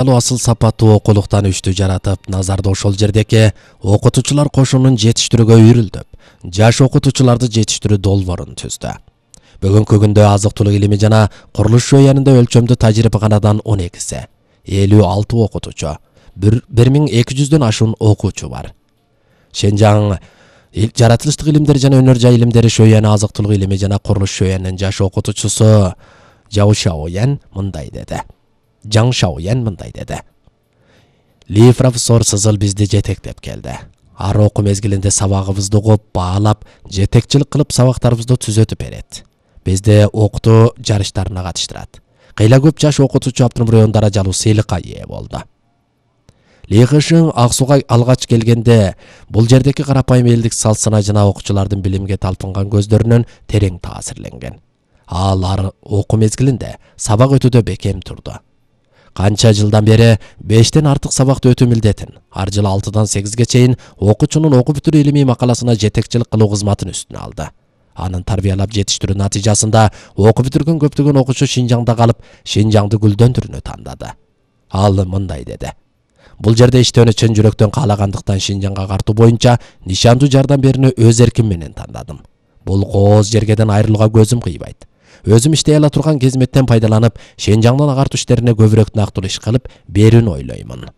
Асыл сапаттуу окулуктан үчтү жаратып, назарды ошол жердеки окутуучулар кошунун жетиштирүүгө үйрүлдөп, жаш окутуучуларды жетиштирүү долбоорун түздү. Бүгүнкү күндө азык-түлүк илими жана курулуш жүйөнүндө өлчөмдүү тажрыйбаканадан 12 56 окутуучу, 1200дөн ашуун окуучу бар. Шенжаң жаратылыштык илимдер жана өнөр жай илимдери шөйөнү азык-түлүк илими жана курулуш жүйөнүнүн жаш окутуучусу Жаң Шаоян мындай деди. Ли профессор Сызыл бизди жетектеп келди. Ар окуу мезгилинде сабагыбызды угуп, баалап, жетекчилик кылып сабактарыбызды түзөтүп берет. Бизди окутуу жарыштарына катыштырат. Кыйла көп жаш окутуучу Абдымурён даражалуу сыйлыкка ээ болду. Ли Хышың Ак Сууга алгач келгенде бул жердеки карапайым элдик салт-сана жана окуучулардын билимге талпынган көздөрүнөн терең таасирленген. Ал окуу мезгилинде сабак өтүүдө бекем турду. Канча жылдан бери 5тен артык сабакты өтүү милдетин, ар жылы 6-дан 8ге чейин окуучунун окуп бүтүрүү илимий макаласына жетекчилик кылуу кызматын үстүнө алды. Анын тарбиялап жетиштирүү натыйжасында окуп бүтүргөн көптөгөн окуучу Шинжаңда калып, Шинжаңды гүлдөндүрүүнү тандады. Ал мындай деди. Бул жерде иштөөнү чын жүрөктөн каалагандыктан Шинжаңга картуу боюнча нишандуу жардам берүүнү өз эрким менен тандадым. Бул кооз жергеден айрылууга көзүм кыйбайт. Өзүм иштей ала турган кезметтен пайдаланып, Шинжаңдын агартуу иштерине көбүрөөк нактылуу иш кылып берүүнү ойлоймун.